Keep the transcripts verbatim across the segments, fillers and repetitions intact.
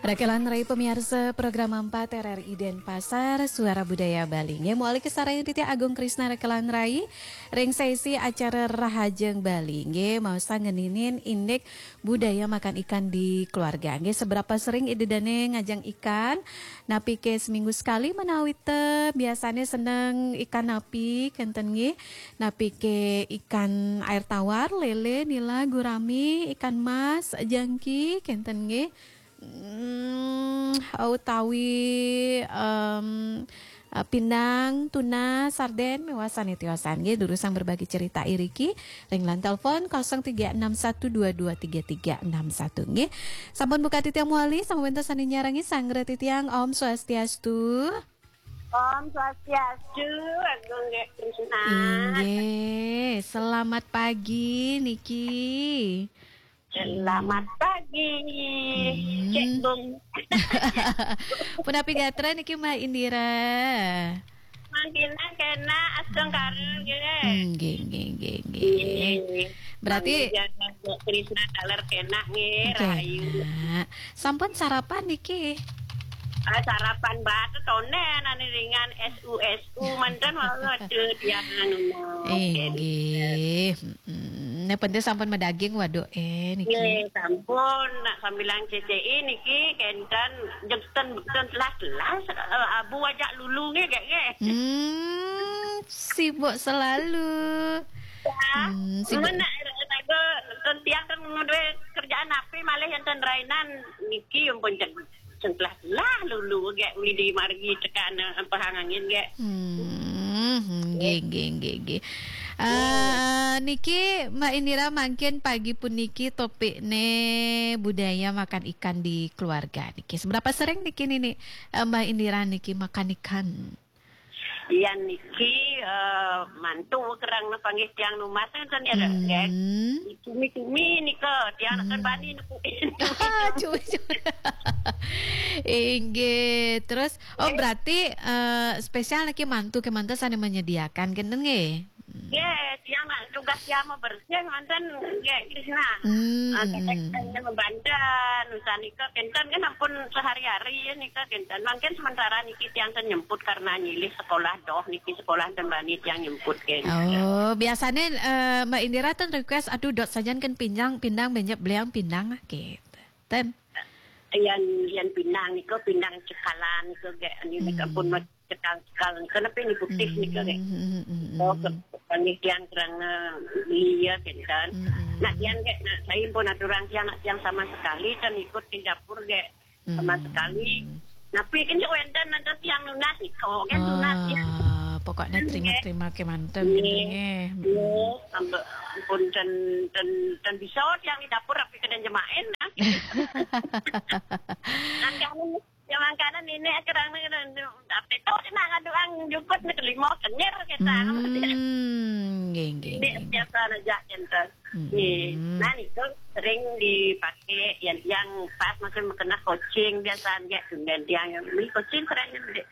Rekelan Rai pemiarsa program empat R R I Denpasar, Suara Budaya Bali. Nggih, mawali kasarengin titiang Agung Krisna Rekelan Rai ring sesi acara Rahajeng Bali. Nggih, maosang ngeninin indik budaya makan ikan di keluarga. Nggih, seberapa sering Ida Dane ngajeng ikan? Napi ke seminggu sekali menawi te biasane seneng ikan napi kenten nggih? Napi ke ikan air tawar, lele, nila, gurami, ikan mas, jangki kenten nggih? Hmm, utawi, em, eh, pindang, tuna, sarden, miwah sane tiosan nggih, durusang berbagi cerita iriki ring line telepon kosong tiga enam satu dua dua tiga tiga enam satu nggih. Sampun buka titiang mawali, sampun wenten sane nyarengin sanggra titiang. Om Swastiastu. Om Swastiastu, Agung Gek Krisna. Inggih, selamat pagi niki. Selamat pagi, hmm. Cek Bung. Punapi gatra niki Mbak Indira? Mangkina kena astungkara nggih. Nggih, nggih, nggih, nggih. Nggih. Berarti Mangkina Krisna taler kena nggih, rahayu. Sampun sarapan niki? Ah, sarapan batu tonden ane ringan S U S U manten waduh tiang anu. Inggih. Hmm, ne penting sampun madaging waduh eh niki. Nggih, sampun nak sambilang C C I niki kenten jekten ten telah-telah eh, abu ajak lulu nggih gek nggih. Hmm, sibuk selalu. Ya, hmm, sibuk. Nak tiang kan duwe kerjaan api malih enten rainan niki ampun cen- Sengkelah-kelah lulu gek mili margi tekan eh, pahang angin gek. Hmm, nggih, nggih, nggih, nggih. Eh, niki Mbak Indira mangkin pagi puniki topikne budaya makan ikan di keluarga niki. Seberapa sering niki nini eh, Mbak Indira niki makan ikan? Yan niki eh, mantu kerang panggih tiang numas enten ya, hmm. Gek. Cumi-cumi nika tiang nak bani nepukin. Cumi-cumi. Inggih. Terus oh berarti eh, spesial niki mantu kemanten sane menyediakan kenten nggih. Nggih, tiang nak tugas tiang mau bersih manten nggih Krisna. Hmm. Ah, kadang-kadang membanten, usaha nika kenten kan ampun sehari-hari ya nika kenten. Mungkin sementara niki tiang ten nyemput karena nyilih sekolah doh niki sekolah ten bani tiang nyemput kenten. Oh, biasanya eh, Mbak Indira ten request aduh dot sajan kan pindang pindang benjep beliang pindang gitu. Ten. Yan yan pindang nika pindang cekalan nika gek ini hmm. Ampun cekal-cekal nika napi ni putih nika gek. Hmm, hmm, hmm, hmm. Oh, ke- panggih tiang kerana iya kenten. Hmm, hmm. Nak tiang gek nak saya pun aturang tiang nak tiang sama sekali ten ikut di dapur gek. Sama sekali. Napi kan je wenten ada tiang nunas iko kan tunas ya. Ah, pokoknya terima-terima kemanten gitu nggih. Nggih. Sampai pun ten ten ten bisa tiang di dapur tapi kena jemain nah. Angkane ya mangkana nenek kerang ni tapi tu nak ngadu ang jukut ni kelima kenyir kita. Hmm, nggih nggih. Ini biasa aja kenten. Hmm. Nggih. Nah, niku sering dipakai yang yang pas mungkin kena coaching biasa nggih dan yang ni coaching sering nggih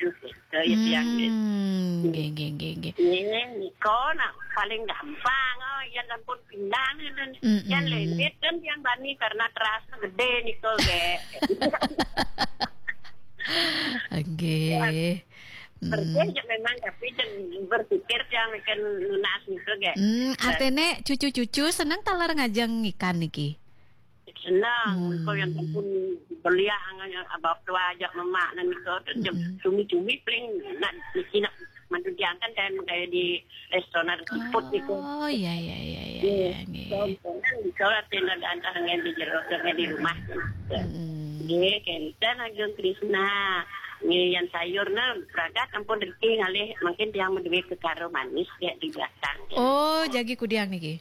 ke ya tiang nggih. Hmm, nggih nggih nggih nggih. Nggih, niku nak paling gampang oh yang ampun pindang itu. Hmm, yang hmm. Lembit kan yang bani karena terasa gede niku nggih. Nggih. Bersih je memang tapi dan berpikir tiang akan nunas niku gek. Hmm, artine cucu-cucu seneng taler ngajeng ikan niki. Senang, hmm. Kau yang pun beliak anganya abah tua ajak mamak nan niku tu hmm. Cumi-cumi paling nak niki nak mantu diangkat dan kayak di restoran siput niku. Oh iya iya iya iya. Iya, iya nggih. Sombongan di sekolah tenda antara ngan di jero dengan di rumah. Hmm. Nggih, kenten Agung Krisna. Nggih, yang sayur na pragat ampun rezeki ngalih mungkin tiang menduit ke karo manis ya di belakang. Oh, jagi kudiang niki.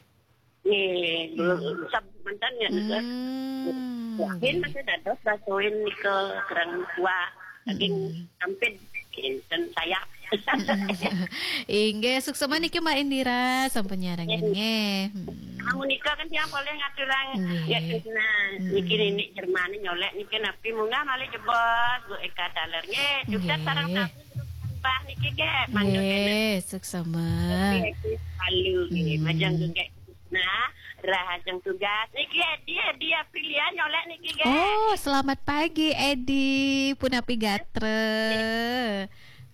Nggih, belum sab mantan ya nika. Hmm. Mungkin masih dados basoin nika kerang kuah. Daging sampit dan sayap. Inggih, suksema niki Mbak Indira sampun nyarengin nggih. Hmm. Amun nika kan tiang boleh ngaturang nggih. Ya Krisna. Hmm. Niki nini Jerman nyolek niki napi munggah malih jebos Bu Eka Taler nggih. Juga nggih. Sareng sami Mbah niki nggih mantuk nggih, suksema. Nggih, lalu nggih hmm. Majang nggih. Nah, Lah, ajeng tugas. Niki Edi, Edi Aprilia nyolek niki, nggih. Oh, selamat pagi Edi, punapi gatra?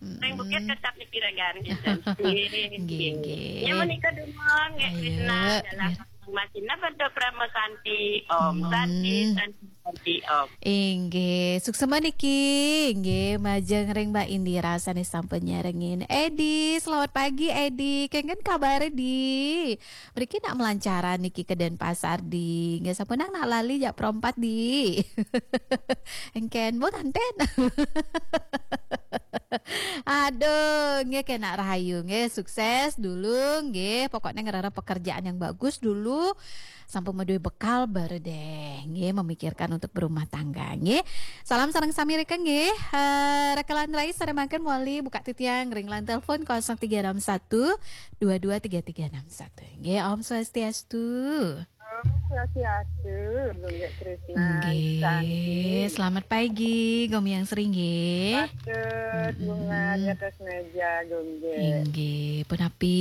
Ring bukit tetap niki regan, gitu. Nggih, nggih. Ya, menika dumun, nggih, Ayo, Krisna, dalam biar- masih napa, Prama Santi, Om Hmm. Santi, Santi, Santi, Om. Inggih, suksema niki. Inggih, majeng ring Mbak Indira sane sampun nyarengin. Edi, selamat pagi Edi. Kengken kabare, Di? Mriki nak melancaran niki ke Denpasar, Di? Nggih, sampun nak lali jak perompat, Di? Engken, Bu, kanten. Aduh, nggih, kenak rahayu, nggih, sukses dulu, nggih. Pokoknya ngerarap pekerjaan yang bagus dulu. Sampun maduwe bekal baru deh, nggih, memikirkan untuk berumah tangga, nggih. Salam sareng sami rika, nggih. Eh, rekelan rai sare mangkin wali buka titiang ring line telepon kosong tiga enam satu dua dua tiga tiga enam satu. Nggih, Om Swastiastu. Om Swastiastu, Gunggik Krisna. Nggih, selamat pagi, Gomiang Sri, nggih. Patut, bunga di atas meja, Gunggik. Inggih, punapi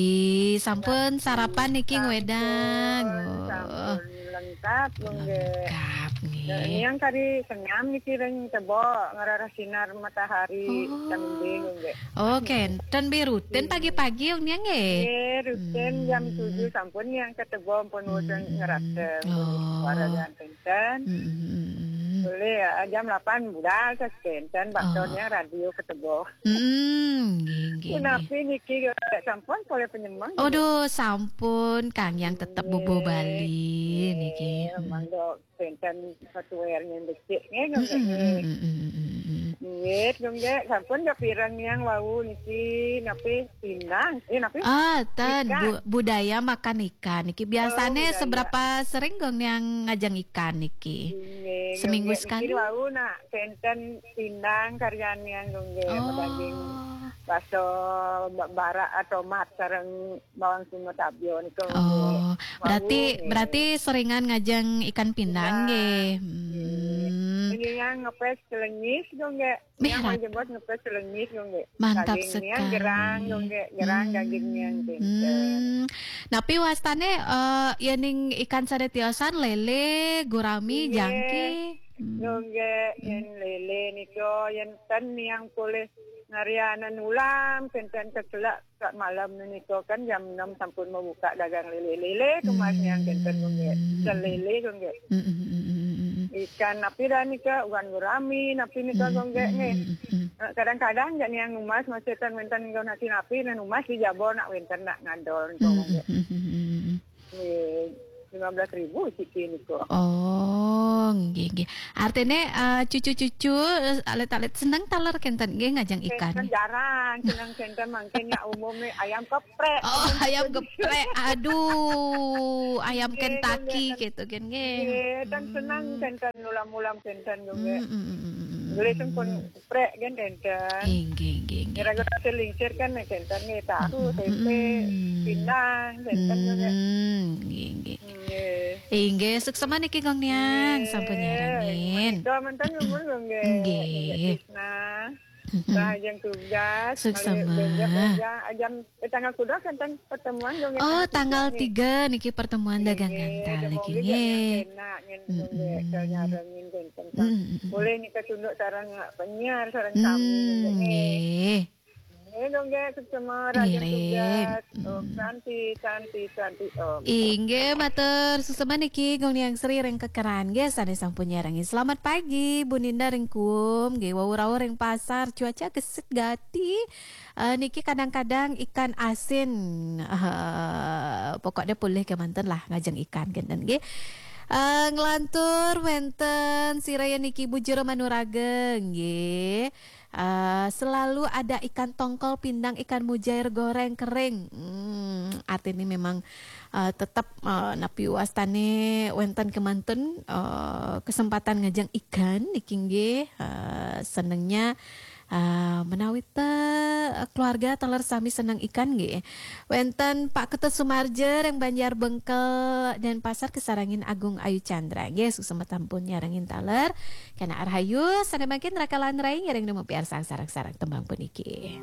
sampun sarapan niki ngwedang? Oh, Sampun lengkap, Gunggik. Lengkap, nggih. Yang kari senyam niki ring tebok ngerarah sinar matahari. Oh. Sambil, Gunggik. Oh, kenten bi rutin pagi-pagi, Ong Niang, nggih? Nggih, rutin Hmm. jam tujuh sampun yang ketebok pun wajeng Hmm. ngerasa. Oh. Suara yang kenten. Hmm, hmm, hmm, hmm. Boleh ya, jam lapan budal tas kenten, Oh. baktornya radio ketebok. Hmm, nggih, nggih, nggih. Punapi niki, sampun polih penyemang. Aduh, sampun, Kang Yang tetep bubuh Bali niki. Memang dok kenten software-nya becik, nggih, Hmm, hmm, hmm, nggih. hmm, hmm, hmm, hmm. Nggih, Gunggik, sampun dok pireng yang wau niki, napi pindang, eh, napi? Ah, ten, Ikan. bu- budaya makan ikan niki biasane Oh, budaya. Seberapa sering, Gong, yang ngajeng ikan niki? Nggih, Seminggu Gunggik, sekali? Niki wau nak kenten pindang karyan yang, Gunggik, Oh. daging baso ba- barak atau mat sareng bawang simo tabio niku. Oh, berarti Wau, berarti seringan ngajeng ikan pindang, Pindang. Nggih. Hmm. Ini yang ngepes kelengis, Gunggik. Mih, Yang rat- mau jebot ngepes kelengis, Gunggik. Mantap Dagingnya sekali. Gerang, Gunggik. Gerang Hmm. dagingnya, Gunggik. Hmm. Napi wastane, eh, yening ikan sane tiosan, lele, gurami, Nggih. jangki? Hmm. Gunggik, yen lele nika, yen ten yang polih ngarianan ulam, kenten keselak sak malam nika kan jam enam sampun membuka dagang lele-lele, tumas yang kenten, Gunggik. Ikan lele, Gunggik. Hmm, hmm, hmm, hmm, hmm, hmm. Ikan napi dah nika, ugan gurami, napi nika, Hmm, Gunggik, hmm, nggih. hmm, hmm. Eh, kadang-kadang jak niang numas masih ten wenten ngau nasi napi, nah numas di jabo nak wenten nak ngadol, Hmm, Gunggik. hmm, hmm, hmm, hmm, hmm. Nggih, lima belas ribu siki niku. Oh, nggih, nggih. Artine, eh, cucu-cucu, eh, alit-alit seneng taler kenten nggih ngajeng ikan. Kenten jarang, seneng kenten mangkin ya umumnya ayam keprek. Oh, ayam geprek. Aduh, ayam Nggih, Kentucky nggih. Gitu kan nggih. Nggih, dan seneng kenten ulam-ulam kenten juga. Hmm, hmm, hmm, hmm, hmm. Boleh sempun keprek kan kenten. Nggih, nggih, nggih, nggih. Kira-kira hasil lingsir kan kenten nih, tahu, Hmm, tempe, hmm. pindang, kenten juga. Hmm, nggih, nggih. Nggih. Inggih, suksema niki Gong Niang, sampun nyarengin. Doa mantan umur nggih. Nggih. Nah, Mhm. Rahajeng tugas. Suksema. Malih belajar, belajar. Ajam, eh, tanggal kuda kan pertemuan dong, Oh, ya, tanggal nih. tiga niki pertemuan dagang Nggih, ngantah semoga lagi jadi nggih. Enak nyen Mm-mm. nggih, nyarengin kenten. Mm-mm. Boleh nika tunduk sareng penyiar, sareng Hmm, sami nggih. Nggih. Nggih, dong, nggih, suksema, rahajeng Ngiring. tugas. Mm. Om Santi, Santi, Santi, Om. Inggih, matur suksema niki Gong Niang Sri ring Kekeran nggih sane sampun nyarengin. Selamat pagi Bu Ninda ring Kuum nggih, wau rauh ring pasar, cuaca gesit gati. Eh, niki kadang-kadang ikan asin. Eh, pokoknya pulih kemanten lah ngajeng ikan kenten nggih. Eh, nglantur wenten siraya niki Bu Jero Manuraga nggih. Eh, selalu ada ikan tongkol, pindang, ikan mujair goreng kering. Hmm, artine memang, eh, tetep, eh, napi wastane wenten kemanten, eh, kesempatan ngajeng ikan niki nggih, eh, senengnya, eh, menawi te, eh, keluarga taler sami seneng ikan nggih. Wenten Pak Ketut Sumarja ring Banjar Bengkel Denpasar, kesarengin Agung Ayu Chandra. Nggih, suksema sampun nyarengin taler. Kena rahayu, sane mangkin rakalan rai ngiring nemu piarsang sareng-sareng tembang puniki.